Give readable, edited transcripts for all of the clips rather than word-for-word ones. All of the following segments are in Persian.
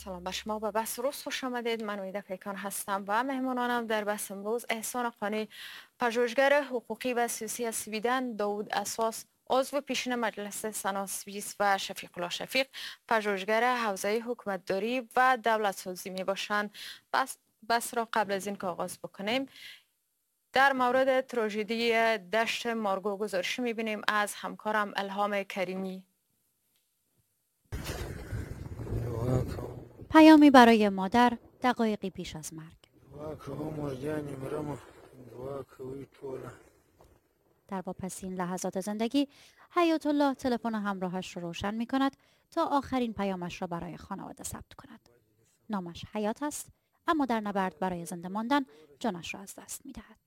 سلام به شما و بحث روز خوش آمدید. من وحیده پیکان هستم و مهمانانم در بحث امروز احسان قانی، پژوهشگر حقوقی و سیاسی از سویدن، داوود اساس، عضو پیشین مجلس سنا سوئیس و شفیق الله شفیق، پژوهشگر حوزه حکومتداری و دولت سازی می باشند. بس را قبل از این که آغاز بکنیم در مورد تراژدی دشت مارگو گزارش می بینیم از همکارم الهام کریمی. پیامی برای مادر دقایقی پیش از مرگ. در واپسین لحظات زندگی حیات الله تلفن همراهش را روشن می کند تا آخرین پیامش را برای خانواده ثبت کند. نامش حیات است، اما در نبرد برای زنده ماندن جانش را از دست می دهد.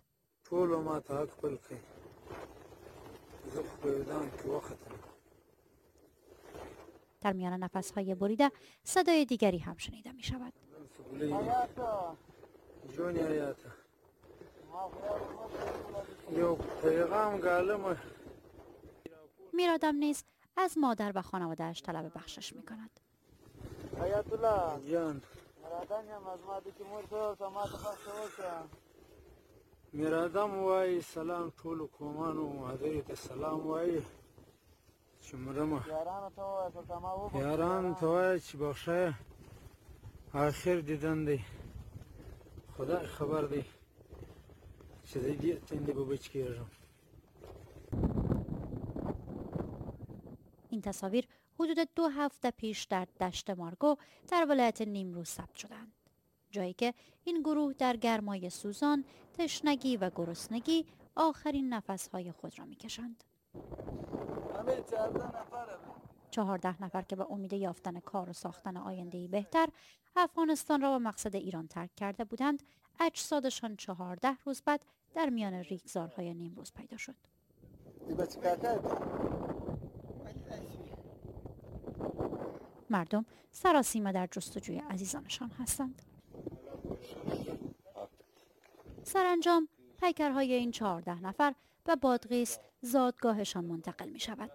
در میان نفس‌های بریده صدای دیگری هم شنیده می شود. میرادم نیز از مادر و خانواده‌اش طلب بخشش می کند. میرادم وای سلام ټولو قومانو مادر ته سلام وای چې مرمه یاران ته وای چې بخښه آخر دیدن دی، خدای خبر دی چې د دې تندې به بچ کېږم. این تصاویر حدود 2 هفته پیش در دشت مارگو در ولایت نیمروز ثبت شدند، جایی که این گروه در گرمای سوزان، تشنگی و گرسنگی آخرین نفس‌های خود را می‌کشند. 14 نفر که با امید یافتن کار و ساختن آینده‌ای بهتر افغانستان را به مقصد ایران ترک کرده بودند، اجسادشان 14 روز بعد در میان ریگزارهای نیمروز پیدا شد. مردم سراسیمه در جستجوی عزیزانشان هستند. سرانجام پیکرهای این 14 نفر به بادغیس زادگاهشان منتقل می شود.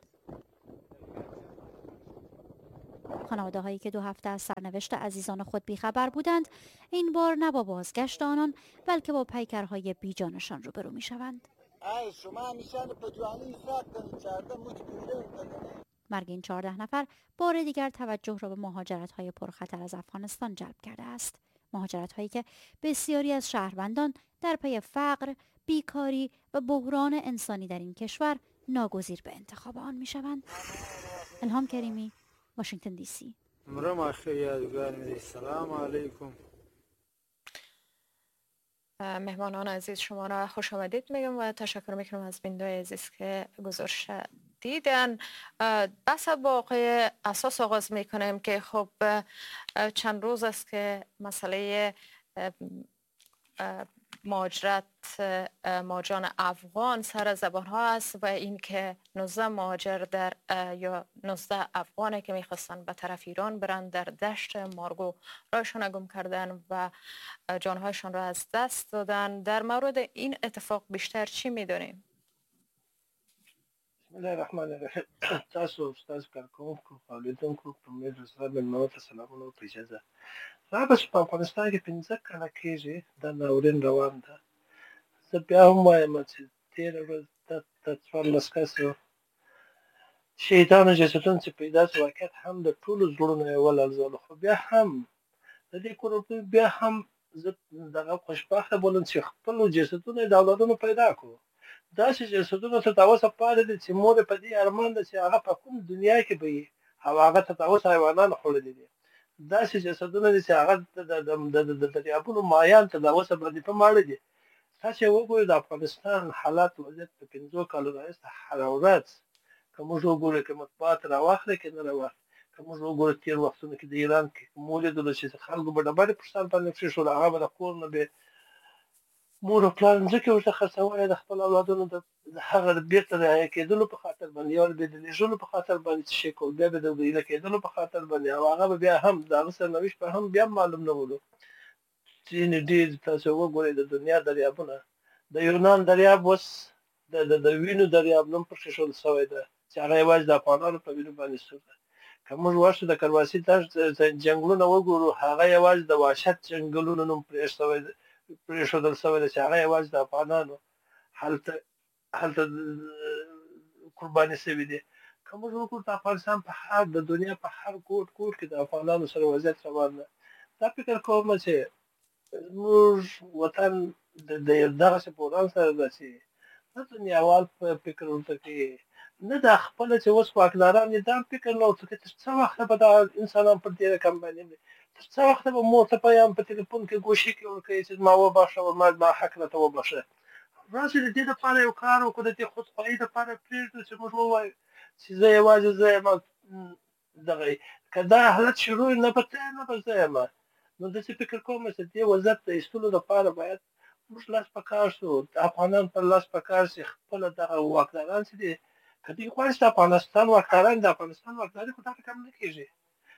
خانواده هایی که 2 هفته از سرنوشت عزیزان خود بیخبر بودند، این بار نه با بازگشت آنان بلکه با پیکرهای بیجانشان روبرو می شوند. مرگ این 14 نفر بار دیگر توجه را به مهاجرت های پرخطر از افغانستان جلب کرده است. مهاجرت هایی که بسیاری از شهروندان در پی فقر، بیکاری و بحران انسانی در این کشور ناگزیر به انتخاب آن می شوند. الهام کریمی، واشنگتن دی سی. مهمانان عزیز شما را خوش آمدید میگم و تشکر میکنم از بیننده‌های عزیز که گزارش دیدن. بس با آقای اساس آغاز میکنیم که خب چند روز است که مسئله مهاجرت مهاجران افغان سر زبان ها است و اینکه 19 مهاجر در یا 19 افغانی که میخواستن به طرف ایران برند در دشت مارگو راهشان گم کردن و جانهایشان را از دست دادن. در مورد این اتفاق بیشتر چی میدونیم؟ بسم الله الرحمن الرحیم. تاسو استاد کارکوونکو او لیدونکو په مې سره مېلمنو ته سلامونه او اجازه. دا بس په افغانستان کې 15 کاله کېږي دا ناورین روان ده. زه بیا هم وایم چې تېره ورځ د 14 کسو شهیدانو جسدونه چې پیدا شو، واقعیت هم د ټولو زړونو یې ولړزولو. خو بیا هم د دې کورنۍ بیا هم زه دغه خوشبخته بولم چې خپلو جسدونه یې د اولادونو پیدا کړو. داسې جسدونه تر اوسه پاتې دي چې مور یې په دې ارمان ده چې هغه په کوم دنیا کې به وي او هغه تر اوسه حیوانانو خوړلي دي. داسې جسدونه دي چې هغه د دریابونو مایان تر اوسه باندې په ماړه دي. تاسې وګورئ د افغانستان حالات وضعیت په 5 کالو راهیسې هره ورځ که موږ وګورو، که مطبوعات راواخلي که نه راواخلي، که موږ وګورو تېر وختونو کې د ایران کې مو ولیدلو چې خلکو به ډبرې پر سر باندې کښېښولو، هغه به د کور نه به مور او پلار ځمکې ورته خرڅولې د خپل اولادونو د هغه د بېرته رعایه کېدلو په خاطر باندې، یا به د لېږلو په خاطر باندې څه شی کول، بیا به د ایله کېدلو په خاطر باندې، او هغه به بیا هم د هغه سرنوشت به هم بیا معلوم نه ولو. ځینې ډېر تاسو وګورئ د دنیا دریابونه، د یونان دریاب اوس د وینو دریاب نوم پکښې ښودل شوی ده چې هغه یوازې د افغانانو په وینو باندې سور ده. که موږ ورشو د کرواسي دشت جنګلونه وګورو، هغه یوازې د وحشت جنګلونو نوم پرېښودل شوی دی چې هغه یوازې د افغانانو هلته قرباني شوي دي. که موږ وګورو د افغانستان په هر د دنیا په هر ګوټ ګوټ کې د افغانانو سره وضعیت روان ده. دا فکر کوم چې موږ وطن د یو دغسې بحران سره ده چې نه دنیاوال فکر ورته کوي، نه دا خپله چې اوس واکداران دي دا فکر نه ورته کوي. تر څه وخته به دا انسانان پر دې رقم باندې مري؟ تر څه وخته به مور ته پیام په تلیفون کې ګوشي کې ورکوي چې ما وبخښه او ما حق راته وبخښه؟ راسئ د دې دپاره یو کار وکړو، د دې خودخواهي دپاره پرېږدو چې موږ ووایو چې زه یوازې زه یم، دغه که دا حالت شروع نه به ته نه به زه یم. نو داسې فکر کوم چې دې وضعیت د ایستلو دپاره باید موږ لاس په کار شو، افغانان پر لاس په کار شي. خپله دغه واکداران چې دي، که دوی غواړي چې د افغانستان واکداران، د افغانستان واکداري خو دا رقم نه کېږي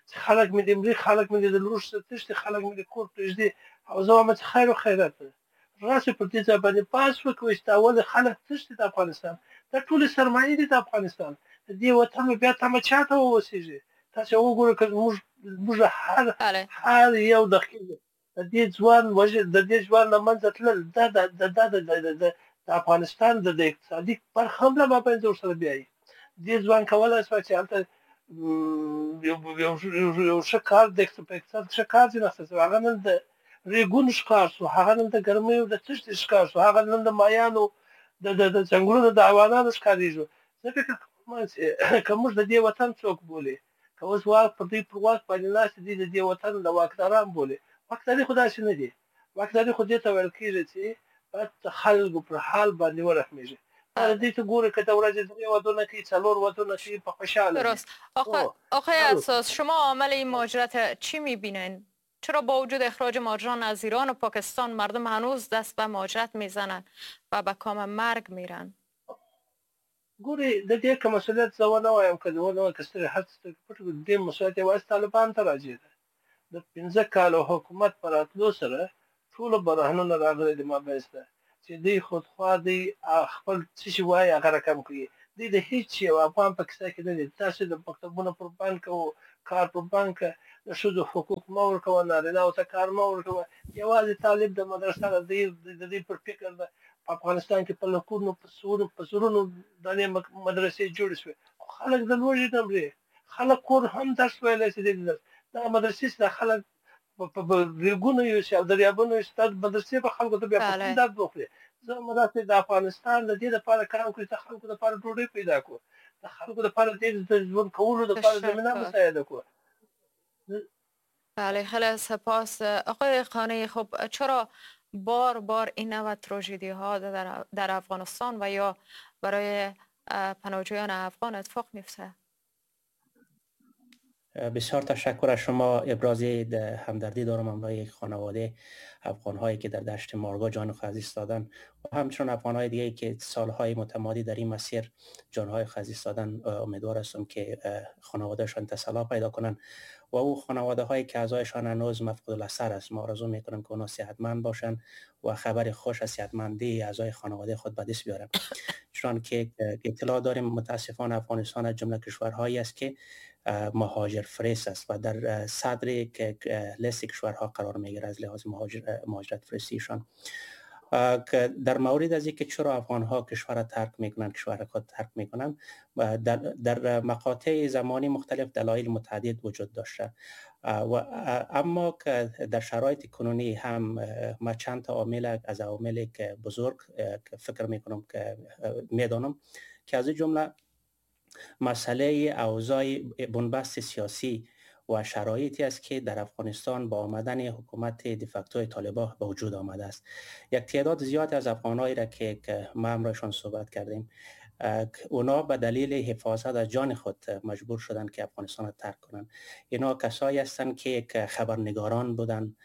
چې خلک مې دې مري، خلک مې دې د لوږ څخه تښتي، خلک مې دې کور پرېږدي او زه وایم چې خیر و خیرات ده. راسئ پر دې ځای باندې بحث وکړئ چې دا ولې خلک تښتي د افغانستان، دا ټولې سرمایې دي د افغانستان، د دې وطن به بیا تمه چا ته واوسېږي؟ تاسې وګورئ که موږ هر یو دقیق د دې ځوان د دې ځوان له منځه تلل دا د افغانستان د اقتصادي برخه هم له مابینځه ورسره بیایي. دې ځوان کولای شوای چې هلته یو ښه کار د په اقتصاد ښه کار ځینې اخیستی شوی، هغه نن د ریګونو ښکار شو، هغه نن د ګرمیو د تښتې ښکار شو، هغه نن د مایانو د ځنګلونو د حیوانانو ښکارېږو. زه فکر کوم چې که موږ د دې وطن څوک بولي، که اوس واک پر دوی پر واک باندې ناست دي، د دې وطن د واکداران بولي، واکداري خو داسې نه دي. واکداري خو دې ته ویل کېږي چې باید د خلکو پر حال باندې ورحمېږي. دې ته ګوري که د ورځې درې ودونه کوي، څلور ودونه کوي، په خوشحاله. درست. آقای اساس، شما عامل این مهاجرت چی میبینین؟ چرا با وجود اخراج مهاجران از ایران و پاکستان مردم هنوز دست به مهاجرت میزنن و به کام مرګ میرن؟ ګوري د دې که مسؤلیت زه ونه وایم، که ونه وایم که سترګې هر څه پټ کړو، د دې مسؤلیت یوازې طالبان ته راجع ده. د 5 کالو حکومت په راتلو سره ټولو برهنونه راغلي دي مابینځ ته چې دوی خودخواه دی، خپل څه چې وایي هغه رقم کوي. دوی د هیڅ یو افغان په کیسه کې نه دي. تاسې د مکتبونو پر بند کوو، کار پر بند که، د ښځو حقوق مه ورکوه، نارینهو ته کار مه ورکوه. یوازې طالب د مدرسه ده، د دوی پر فکر ده. په افغانستان کې په لکونو په زرونو دانې مدرسې جوړې شوې، خو خلک د لوږې نه مري. خلک کور هم درس ویلی شي. دا مدرسې چې دا خلک په ریګونو یوسي او دریابونو یوسي، دا مدرسې به خلکو ته بیا په کوم درد وخوري؟ زه همداسې د افغانستان د دې لپاره کار وکړي چې د خلکو لپاره ډوډۍ پیدا کړو، د خلکو لپاره دې د ژوند کولو لپاره زمینه مساعده کړو. بله، خیلی سپاس. آقای قانعی، خب چرا بار بار این نوع تراژدی ها در افغانستان و یا برای پناهجویان افغان اتفاق میفته؟ بسیار تشکر از شما. ابراز همدردی دارم همراه یک خانواده افغان هایی که در دشت مارگا جان خود از دست دادن و همچنان افغان های دیگه که سالهای متمادی در این مسیر جانهای خود از دست دادن. امیدوار هستم که خانوادهشان تسلا پیدا کنند و او خانواده هایی که اعضایشان هنوز مفقود الاثر است، ما آرزو میکنم که اونا صحتمند باشند و خبر خوش از صحتمندی اعضای خانواده خود به دست بیارن. چون که اطلاع داریم متاسفانه افغانستان از جمله کشورهایی است که مهاجر فرست است و در صدر لیست کشورها قرار میگیره از لحاظ مهاجرت فرستیشان. در مورد از اینکه چرا افغان ها کشور را ترک میکنند، کشور خود ترک میکنند، در مقاطع زمانی مختلف دلایل متعدد وجود داشته و اما که در شرایط کنونی هم ما چند تا عامل از عوامل که بزرگ فکر میکنم که میدانم که از جمله مسئله اوضاع بنبست سیاسی و شرایطی است که در افغانستان با آمدن حکومت دیفاکتوی طالبان به وجود آمده است. یک تعداد زیاد از افغانایی را که ما همراهشان صحبت کردیم، اونا به دلیل حفاظت از جان خود مجبور شدند که افغانستان را ترک کنند. اینا کسایی هستند که خبرنگاران بودند،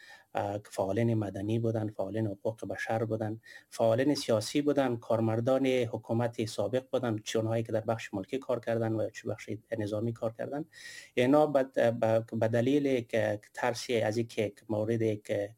فعالین مدنی بودن، فعالین حقوق بشر بودن، فعالین سیاسی بودن، کارمردان حکومت سابق بودن، چه اونهایی که در بخش ملکی کار کردن و چه بخش نظامی کار کردن. اینا به دلیل که ترسی از اینکه مورد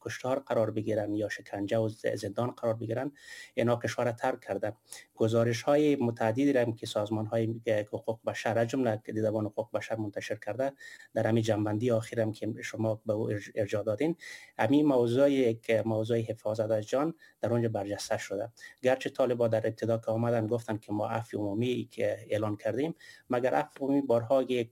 کشتار قرار بگیرن یا شکنجه و زندان قرار بگیرن، اینا کشور ترک کردن. گزارش های متعددی هم که سازمان های حقوق بشر از جمله دیدبان حقوق بشر منتشر کرده، در همین جنبندی آخرم که شما به او ارجاع دادین، همین موضوع که موضوع حفاظت از جان در اونجا برجسته شده. گرچه طالبان در ابتدا که آمدن گفتن که ما عفو عمومی که اعلان کردیم، مگر عفو عمومی بارها یک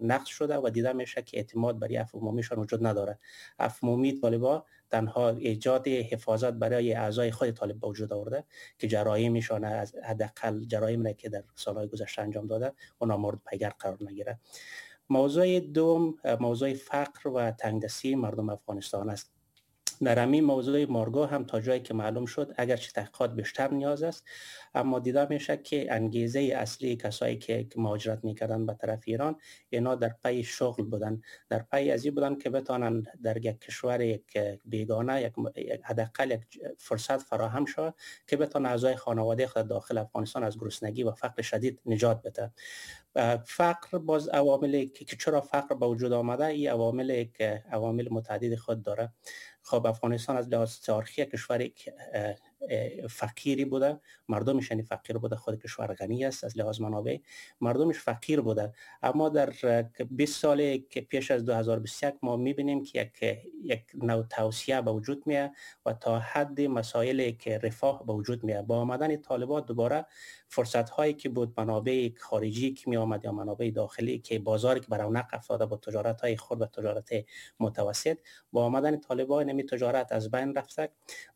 نقض شده و دیده میشه که اعتماد برای عفو عمومیشان وجود نداره. عفو عمومی طالبان تنها ایجاد حفاظت برای اعضای خود طالب به وجود آورده که جرایمشان از حداقل جرایمی که در سالهای گذشته انجام داده اونا مورد پیگرد قرار نگیره. موضوع دوم موضوع فقر و تنگدستی مردم افغانستان است. در همین موضوع مارگو هم تا جایی که معلوم شد، اگرچه تحقیقات بیشتر نیاز است، اما دیده میشه که انگیزه اصلی کسایی که مهاجرت میکردن به طرف ایران، اینا در پی شغل بودن، در پی ازی بودن که بتانن در یک کشور یک بیگانه یک حداقل یک فرصت فراهم شود که بتانن اعضای خانواده خود داخل افغانستان از گرسنگی و فقر شدید نجات بده. فقر باز عوامل که چرا فقر به وجود آمده، این عوامل که عوامل متعدد خود داره. خب افغانستان از لحاظ تاریخی کشور فقیری بوده، مردمش یعنی فقیر بوده، خود کشور غنی است از لحاظ منابع، مردمش فقیر بوده. اما در 20 سال که پیش از 2021 ما میبینیم که یک نوع توسعه به وجود میاد و تا حد مسائل که رفاه به وجود میاد. با آمدن طالبان دوباره فرصت هایی که بود، منابع خارجی که می آمد یا منابع داخلی که بازاری که برونق افتاده با تجارت های خرد و تجارت متوسط، با آمدن طالبان نمی تجارت از بین رفته،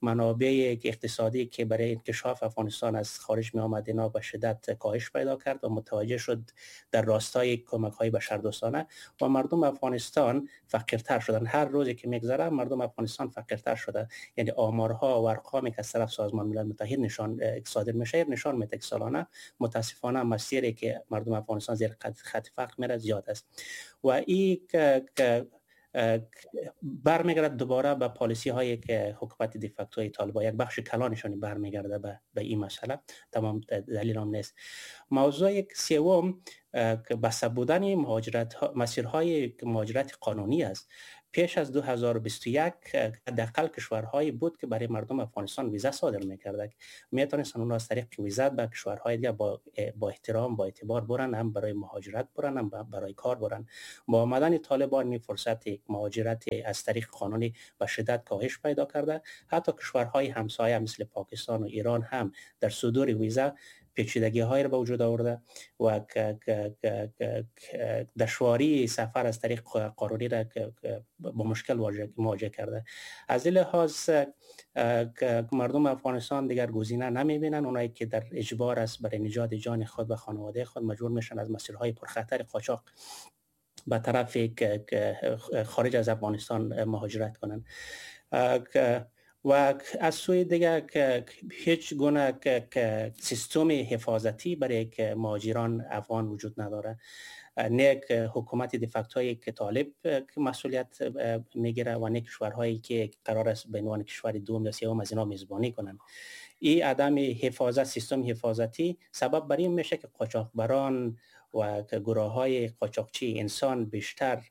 منابع اقتصادی که برای انکشاف افغانستان از خارج می آمد اینا به شدت کاهش پیدا کرد و متوجه شد در راستای کمک های بشردوستانه و مردم افغانستان فقیرتر شدن. هر روزی که میگذره مردم افغانستان فقیرتر شده، یعنی آمارها و ارقامی که از طرف سازمان ملل متحد نشان صادر میشه نشان میده که سالانه متاسفانه مسیری که مردم افغانستان زیر خط فقر میره زیاد است و این برمیگرد دوباره به پالیسی هایی که حکومت دیفاکتوی طالبان یک بخش کلانشان برمیگرده به این مسئله. تمام دلیل هم نیست. موضوع سوم که بسته بودن مهاجرت مسیرهای مهاجرت قانونی است. پیش از 2021 حداقل کشورهایی بود که برای مردم افغانستان ویزا صادر می‌کرد، میتونستن اونها از طریق ویزا به کشورهای دیگه با احترام با اعتبار برن، هم برای مهاجرت برن هم برای کار برن. با آمدن طالبان می فرصت مهاجرت از طریق قانونی به شدت کاهش پیدا کرده. حتی کشورهای همسایه مثل پاکستان و ایران هم در صدور ویزا پیچیدگی های را به وجود آورده و دشواری سفر از طریق قانونی را با مشکل مواجه کرده. از این لحاظ مردم افغانستان دیگر گزینه نمیبینن، اونایی که در اجبار است برای نجات جان خود و خانواده خود مجبور میشن از مسیرهای پرخطر قاچاق به طرف خارج از افغانستان مهاجرت کنند. و از سوی دیگه که هیچ گونه که سیستم حفاظتی برای که مهاجران افغان وجود نداره. نه حکومت دیفاکتوی که طالب مسئولیت میگیره و نه کشورهایی که قرار است به عنوان کشور دوم یا سوم از اینا میزبانی کنند. این عدم حفاظت سیستم حفاظتی سبب بر این میشه که قاچاقبران و گروه‌های قاچاقچی انسان بیشتر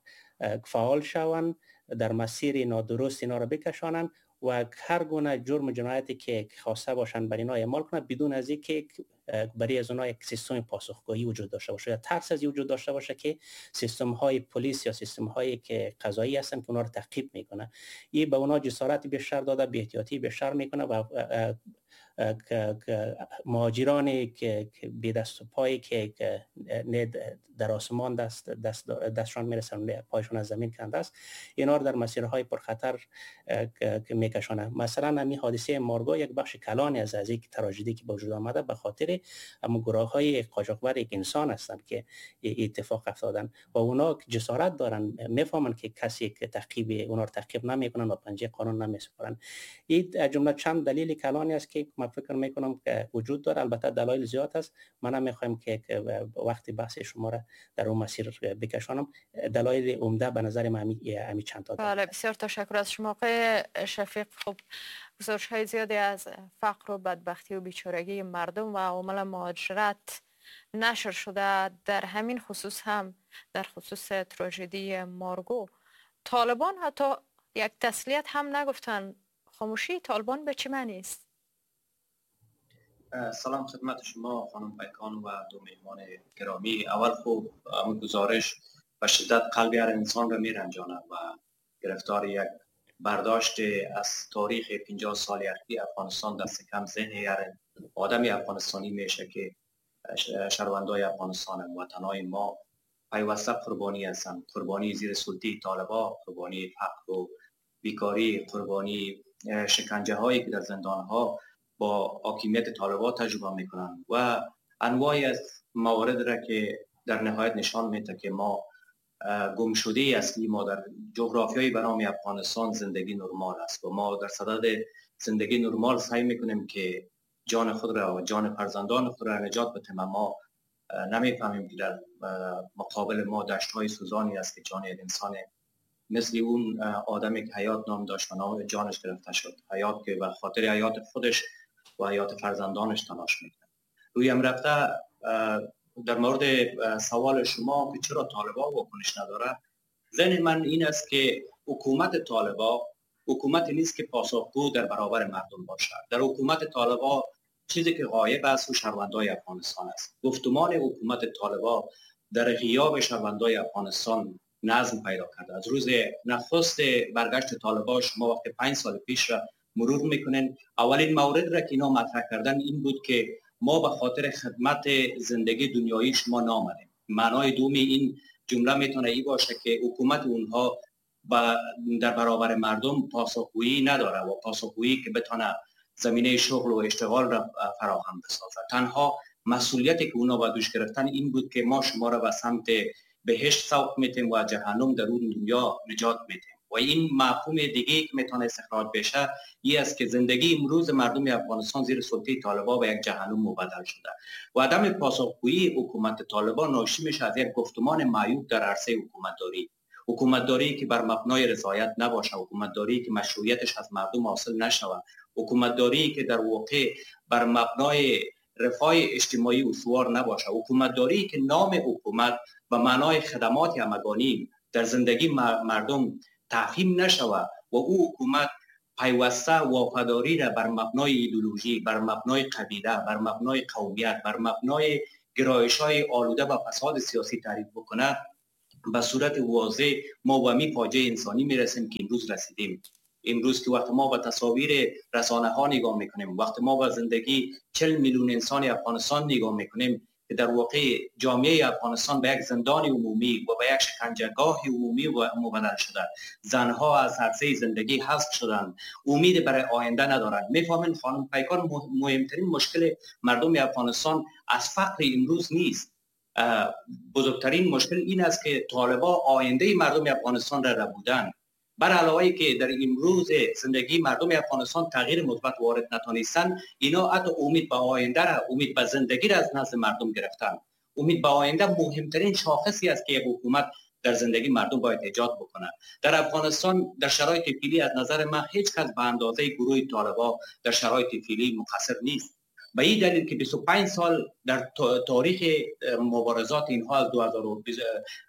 فعال شوند، در مسیر نادرست اینا را بکشانند و هر گونه جرم و جنایتی که خواسته باشند بر اینا اعمال کنند بدون از اینکه برای از اونها یک سیستم پاسخگویی وجود داشته باشه یا ترس از وجود داشته باشه که سیستم های پلیس یا سیستم هایی که قضایی هستن که اونها رو تعقیب میکنه. این به اونها جسارت بیشتر داده، بی احتیاطی بیشتر میکنه و مهاجرانی که بی دست و پایی که نه در آسمان دستشان میرسن نه پایشون از زمین کنده است، اینا رو در مسیرهای پرخطر میکشانه. مثلا همین حادثه مارگو یک بخش کلانی از یک تراژدی که به وجود آمده به خاطر توسط اما گروه های قاچاقبر یک انسان هستند که اتفاق افتادن و اونا جسارت دارن، میفهمن که کسی که تعقیب اونا رو تعقیب نمیکنن و پنجه قانون نمیسپارن. این جمله چند دلیل کلانی است که من فکر میکنم که وجود داره. البته دلایل زیاد است، من نمیخوایم که وقتی بحث شما را در اون مسیر بکشانم. دلایل عمده به نظر من همی چند تا. بله، بسیار تشکر از شما آقای شفیق. خب گزارش‌های زیادی از فقر و بدبختی و بیچارگی مردم و عوامل مهاجرت نشر شده. در همین خصوص هم در خصوص تراژدی مارگو طالبان حتی یک تسلیت هم نگفتن. خاموشی طالبان به چه معنی است؟ سلام خدمت شما خانم پیکان و دو مهمان گرامی. اول خوب گزارش به شدت قلب هر انسان را میرنجاند و گرفتار یک برداشت از تاریخ 50 سال اخیر افغانستان دست کم ذهن هر آدمی افغانستانی میشه که شهروندای افغانستان وطنای ما پیوسته قربانی هستند، قربانی زیر سلطه طالبان، قربانی فقر و بیکاری، قربانی شکنجه هایی که در زندان ها با حاکمیت طالبان تجربه میکنند و انواعی از موارد را که در نهایت نشان میده که ما گم شده اصلی ما در جغرافیای به نام افغانستان زندگی نرمال است و ما در صدد زندگی نرمال سعی میکنیم که جان خود را و جان فرزندان خود را نجات بدهیم، اما نمیفهمیم که در مقابل ما دشت‌های سوزانی است که جان انسان مثل اون آدمی که حیات نام داشت و نام جانش گرفته شد، حیات که به خاطر حیات خودش و حیات فرزندانش تلاش میکنه. روی هم رفته در مورد سوال شما که چرا طالبان واکنش نداره، ذهن من این است که حکومت طالبان حکومت نیست که پاسخگو در برابر مردم باشد. در حکومت طالبان چیزی که غایب است و شهروندای افغانستان است. گفتمان حکومت طالبان در غیاب شهروندای افغانستان نظم پیدا کرده. از روز نخست برگشت طالبان شما وقت 5 سال پیش را مرور میکنین، اولین مورد را که اینا مطرح کردن این بود که ما به خاطر خدمت زندگی دنیایی شما نامدیم. معنای دومی این جمله میتونه ای باشه که حکومت اونها در برابر مردم پاسخگویی نداره و پاسخگویی که بتونه زمینه شغل و اشتغال را فراهم بسازه. تنها مسئولیتی که اونا با دوش گرفتن این بود که ما شما را به سمت بهشت سوق میتیم و جهنم در اون دنیا نجات میتیم. و این مفهوم دیگه که میتونه استخراج بشه این است که زندگی امروز مردم افغانستان زیر سلطه طالبان به یک جهنم مبدل شده و عدم پاسخگویی حکومت طالبان ناشی میشه از یک گفتمان معیوب در عرصه حکومتداری، حکومتداری که بر مبنای رضایت نباشه، حکومتداری که مشروعیتش از مردم حاصل نشود، حکومتداری که در واقع بر مبنای رفاه اجتماعی استوار نباشه، حکومتداری که نام حکومت به معنای خدمات همگانی در زندگی مردم تفهیم نشود و او حکومت پیوسته وفاداری را بر مبنای ایدئولوژی، بر مبنای قبیله، بر مبنای قومیت، بر مبنای گرایش‌های آلوده و فساد سیاسی تعریف بکنه، به صورت واضح ما به می فاجعه انسانی میرسیم که امروز رسیدیم. امروز که وقت ما به تصاویر رسانه ها نگاه میکنیم، وقت ما به زندگی 40 میلیون انسان افغانستان نگاه میکنیم که در واقع جامعه افغانستان به یک زندان عمومی و به یک شکنجهگاه عمومی و مبدل شده. زنها از عرصه زندگی حذف شدند، امید برای آینده ندارند. میفهمین خانم پیکان، مهمترین مشکل مردم افغانستان از فقر امروز نیست. بزرگترین مشکل این است که طالبان آینده مردم افغانستان را ربودند. بر علاوه که در امروز زندگی مردم افغانستان تغییر مثبت وارد نتانستن، اینا حتی امید به آینده را، امید به زندگی را از نزد مردم گرفتن. امید به آینده مهمترین شاخصی است که یک حکومت در زندگی مردم باید ایجاد بکنه. در افغانستان در شرایط فعلی از نظر من هیچ کس به اندازه گروه طالبان در شرایط فعلی مقصر نیست. به این دلیل که 25 سال در تاریخ مبارزات اینها از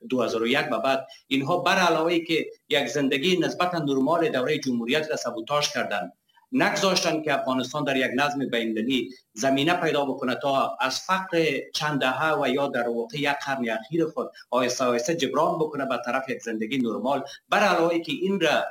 2001 به بعد اینها بر علاوه که یک زندگی نسبتا نرمال دوره جمهوریت را سابوتاژ کردند، نگذاشتند که افغانستان در یک نظم بین‌المللی زمینه پیدا بکنه تا از فقر چند دهه و یا در واقع یک قرن اخیر خود آهسته آهسته جبران بکنه به طرف یک زندگی نرمال. بر علاوه که این را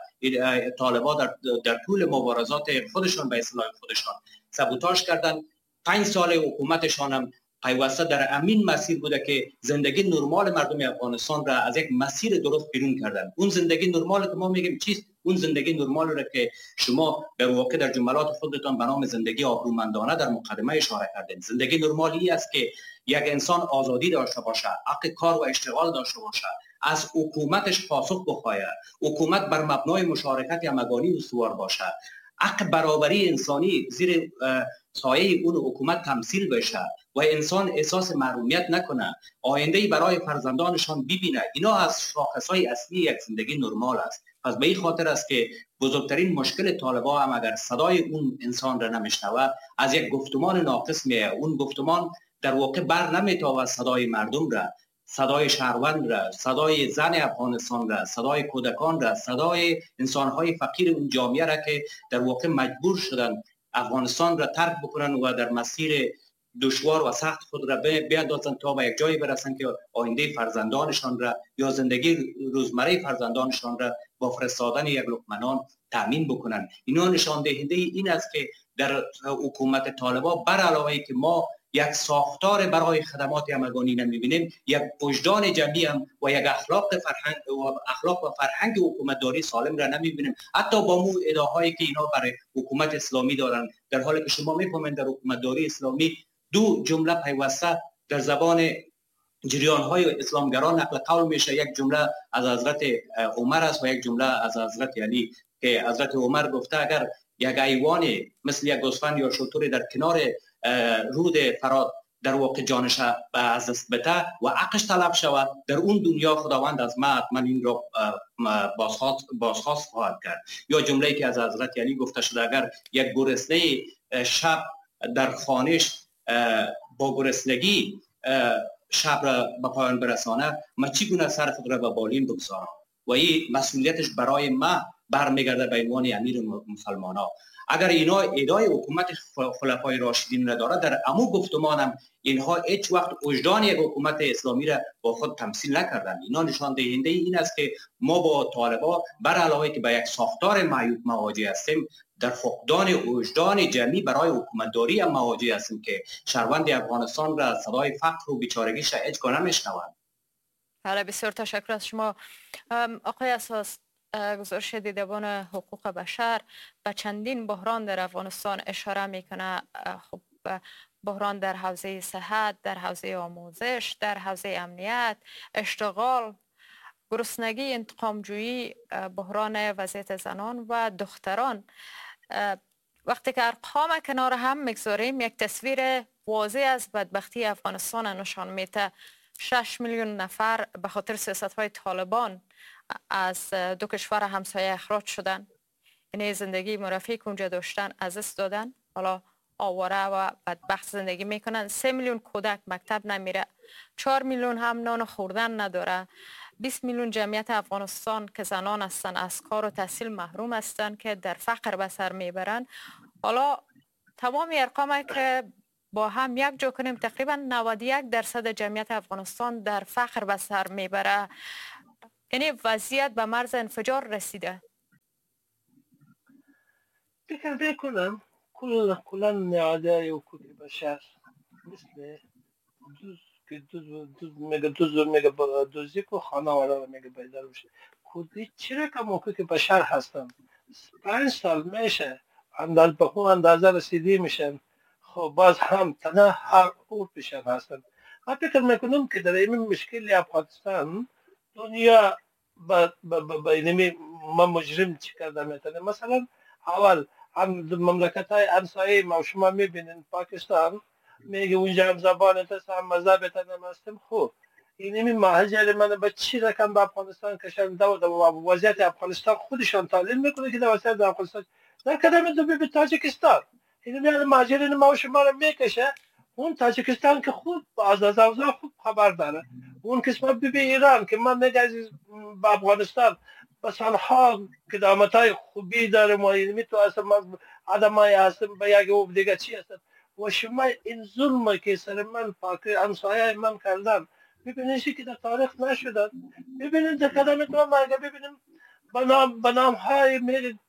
طالبان در طول مبارزات خودشان به اصطلاح خودشان سابوتاژ کردند. 5 سال حکومتشان هم پیوسته در امین مسیر بوده که زندگی نرمال مردم افغانستان را از یک مسیر درست بیرون کردن. اون زندگی نرمال که ما میگیم چیست؟ اون زندگی نرمال را که شما در واقع در جملات خودتان به نام زندگی آبرومندانه در مقدمه اشاره کردین، زندگی نرمالی است که یک انسان آزادی داشته باشه، حق کار و اشتغال داشته باشه، از حکومتش پاسخ بخواهد، حکومت بر مبنای مشارکت همگانی استوار باشه، حق برابری انسانی زیر سایه اون حکومت تمثیل بشه و انسان احساس محرومیت نکنه، آینده‌ای برای فرزندانشان ببینه. اینا از شاخص‌های اصلی یک زندگی نرمال است. پس به این خاطر است که بزرگترین مشکل طالبان هم اگر صدای اون انسان را نمیشنوه، از یک گفتمان ناقص میه. اون گفتمان در واقع بر نمیتابد صدای مردم را، صدای شهروند را، صدای زن افغانستان را، صدای کودکان را، صدای انسان‌های فقیر اون جامعه را که در واقع مجبور شدن افغانستان را ترک بکنن و در مسیر دشوار و سخت خود را بیاندازن تا به یک جایی برسن که آینده فرزندانشان را یا زندگی روزمره فرزندانشان را با فرستادن یک لقمه نان تامین بکنن. اینا نشان دهنده این است که در حکومت طالبان بر علاوه که ما یک ساختار برای خدمات همگانی نمی‌بینیم، یک وجدان جمعی هم و یک اخلاق فرهنگ و اخلاق و فرهنگ حکومتداری سالم را نمی‌بینیم، حتی با مو ادعاهایی که اینا برای حکومت اسلامی دارن، در حالی که شما می‌فهمید در حکومتداری اسلامی دو جمله پیوسته در زبان جریان‌های اسلامگران نقل قول میشه، یک جمله از حضرت عمر است و یک جمله از حضرت علی که حضرت عمر گفته اگر یک ایوان مثل یک گوسفند یا شتر در کنار رود فرات در واقع جانش از دست بده و عقش طلب شود، در اون دنیا خداوند از ما حتما این را بازخواست خواهد کرد. یا جمله‌ای که از حضرت علی گفته شده اگر یک گرسنه شب در خانش با گرسنگی شب را به پایان برسانه، ما چگونه سر خود را به بالین بگذارم؟ و این مسئولیتش برای ما برمیگرده به عنوان امیر مسلمان‌ها. اگر اینا ادعای حکومت خلفای راشدین را داره، در امو گفتمانم اینها هیچ وقت وجدان یک حکومت اسلامی را با خود تمثیل نکردن. اینا نشان دهنده این است که ما با طالبان بر علاوه که به یک ساختار معیوب مواجه هستیم، در فقدان وجدان جمعی برای حکومتداری هم مواجه هستیم که شهروند افغانستان را صدای فقر و بیچارگیش را هیچگاه نمیشنوند. بله، بسیار تشکر از شما آقای اساس. گزارش دیدبان حقوق بشر به چندین بحران در افغانستان اشاره میکنه. خب بحران در حوزه صحت، در حوزه آموزش، در حوزه امنیت، اشتغال، گرسنگی، انتقامجویی، بحران وضعیت زنان و دختران. وقتی که ارقام کنار هم میگذاریم یک تصویر واضح از بدبختی افغانستان نشان میده. 6 میلیون نفر به خاطر سیاست‌های طالبان از دو کشور همسایه اخراج شدن، یعنی زندگی مرفه که اونجا داشتن از دست دادن، حالا آواره و بدبخت زندگی میکنن. 3 میلیون کودک مکتب نمیره، 4 میلیون هم نان خوردن نداره، 20 میلیون جمعیت افغانستان که زنان هستن از کار و تحصیل محروم هستن که در فقر به سر میبرن. حالا تمام ارقام که با هم یک جا کنیم تقریبا 91% جمعیت افغانستان در فقر به سر میبره، یعنی وضعیت به مرز انفجار رسیده. فکر میکنم کلا نهادهای حقوق بشر مثل دوز که دوز میگه دوز میگه دوزی کو خانواده رو میگه بیدار بشه. خودی چرا که حقوق بشر هستن 5 سال میشه انداز به اون اندازه رسیدی میشن، خب باز هم تنها هر او بشر هستن. من فکر میکنم که در این مشکل افغانستان دنیا با اینمی ما مجرم چی کرده میتونه. مثلا اول هم مملکت های همسایه ما شما میبینین پاکستان میگه اونجا هم زبان هست هم مذهب هم هستیم. خب اینمی مهاجر من به چی رقم به افغانستان کشنده و وضعیت افغانستان خودشان تحلیل میکنه که در وضعیت افغانستان در کدام دو به تاجیکستان اینمی مهاجرین ما شما رو میکشه. اون تاجیکستان که خوب از اوضاع خوب خبر داره، اون قسمت به ایران که من میگه عزیز به افغانستان به سالها قدامت های خوبی داره، ما اینمی تو اصلا آدمای هستم به یک او دیگه چی هستن و شما این ظلم که سر من پاک همسایه من کردن ببینید که در تاریخ نشدن. ببینید در قدم تو ما اگه ببینیم به نام های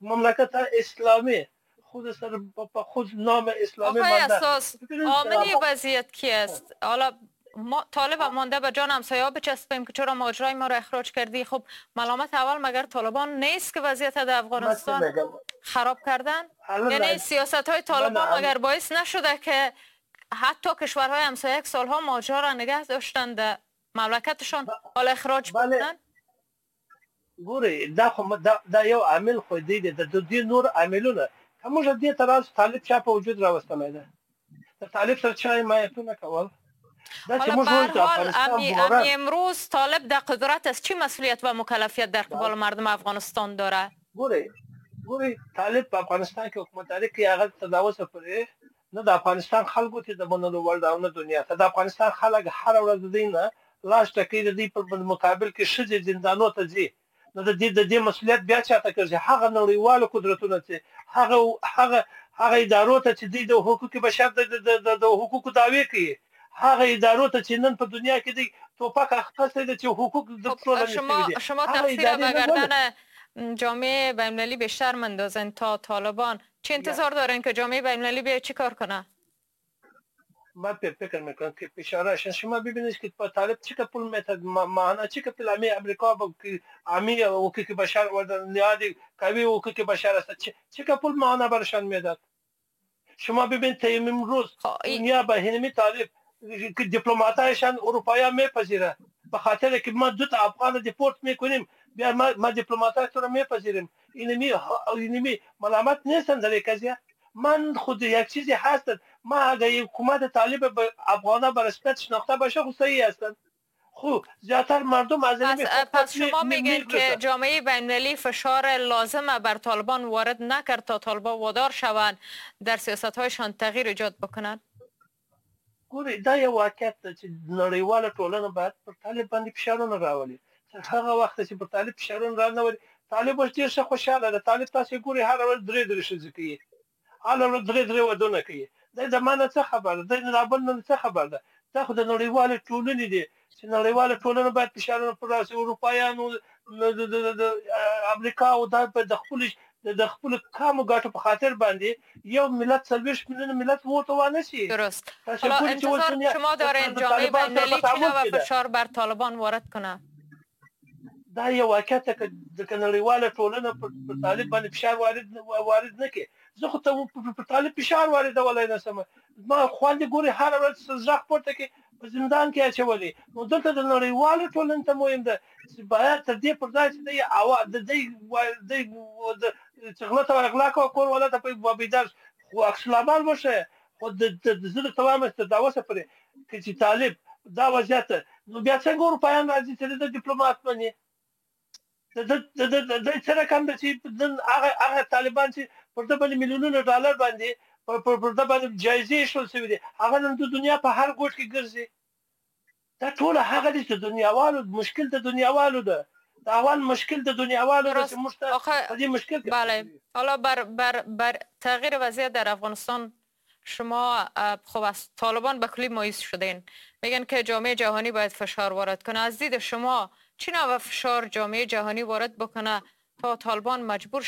مملکت اسلامی خود سر خود نام اسلامی آقای اساس عامل وضعیت کی است؟ حالا ما طالب مانده به جان همسایه‌ها بچسبیم که چرا مهاجرای ما را اخراج کردی. خب ملامت اول مگر طالبان نیست که وضعیت در افغانستان خراب کردن؟ یعنی سیاست های طالبان مگر باعث نشده که حتی کشورهای همسایه یک سالها مهاجرا را نگه داشتن در مملکتشان، حالا اخراج بکنن؟ ګورئ، دا خو دا یو عامل خو دی، د دې نور عاملونه که موږ دې ته راسو، طالب چا په وجود راوستلی ده؟ د طالب سره چا حمایتونه کول؟ حالا به هر حال امی امروز طالب در قدرت است، چی مسئولیت و مکلفیت در قبال مردم افغانستان داره؟ ګورئ، طالب په افغانستان کې حکومتداري کوي، هغه تر دا اوسه پورې نه د افغانستان خلکو ته د منلو وړ ده او نه دنیا ته. د افغانستان خلک هره ورځ د دوی نه لاس ټکوي، د دوی په مقابل کې ښځې زندانو ته ځي. نو د دې مسئولیت بیا چاته ګرځي؟ هغه نړیوالو قدرتونه چې هغه هغه هغه ادارو ته چې دوی د حقوق بشر د حقوقو دعوې کوي، هغه ادارو ته چې نن په دنیا کې دی توپک اخیستی دی چې حقوق د ټولنې. شما تقصیر به گردن جامعه بین‌المللی بیشتر مندازن تا طالبان. چه انتظار دارن که جامعه بین‌المللی بیاد چی کار کنه؟ من فکر میکنم که فشارش، شما ببینید که با طالب چه پول میتد، معنا چه پول امی امریکا با امی حقوق بشر و نهاد قوی حقوق بشر است، چه پول معنا برشان میداد؟ شما ببینید تا امروز دنیا به هنمی طالب که دیپلماتایشان اروپایی میپذیره، به خاطر که ما دو تا افغان دیپورت میکنیم، بیا ما دیپلماتای تو رو میپذیریم. اینمی ملامت نیستن در قضیه. من خود یک چیزی هست، ما اگه حکومت طالب به افغانا به رسمیت شناخته باشه خو صحیح هستند. خب زیادتر مردم از پس شما میگین که جامعه بین‌المللی فشار لازم بر طالبان وارد نکرد تا طالبان وادار شوند در سیاست‌هایشان تغییر ایجاد بکنند؟ ګورئ، دا یو واقعیت ده چې نړیواله ټولنه باید پر طالب باندې فشارونه راولي. تر هغه وخته چې پر طالب فشارونه رانه ولي، طالب اوس ډېر ښه خوشحاله ده. طالب تاسې ګورئ هره ورځ درې درې ښځې کوي، هره ورځ درې درې ودونه کوي. دی د ما نه څه خبر ده؟ دی د بل نه څه خبر ده؟ دا خو د نړیوالې ټولنې دي چې نړیواله ټولنه باید فشارونه پر راسي. اروپایانو، د امریکا او دا د خپلو کمو ګټو په خاطر باندې یو ملت 40 میلیون ملت ورته وانه شي. درست. حالا انتظار شما دارین جامعه بین‌المللی چه نوع فشار بر طالبان وارد کنه؟ دا یو واقعیت ده که نړیواله ټولنه پر طالب باندې فشار وارد نه کړي. زه خو ته پر طالب فشار واردولی نه شم. ما خوندې ګوري هره ورځ غږ پورته کوي، په زندان کې اچولي. نو دلته د نړیوالې ټولنې ته مهم ده چې باید تر دې پر ځای چې دی دی چې غله ته غلا کوه، کور والا ته په بیدار خو عکس العمل وښیه. خو زه درته وایم چې تر دا اوسه پورې که چې طالب دا وضعیت، نو بیا څنګه اروپایان راځي چې د دیپلومات مني؟ د څه رقم ده چې نن هغه طالبان چې پر ده باندې میلیونونه ډالر باندې پر ده باندې جایزې ایښودل شوې دي، هغه نن د دنیا په هر ګوټ کې ګرځي. دا ټوله هغه دي چې دنیاوالو مشکل د دنیاوالو ده. دا اول مشکل د دنیاوالو ده چې موږ ته په دې مشکل کې. بله. حالا بر تغییر وضعیت در افغانستان شما خب از طالبان به کلی مایوس شدین، میگن که جامعه جهانی باید فشار وارد کنه. از دید شما چی نوع فشار جامعه جهانی وارد بکنه تا طالبان مجبور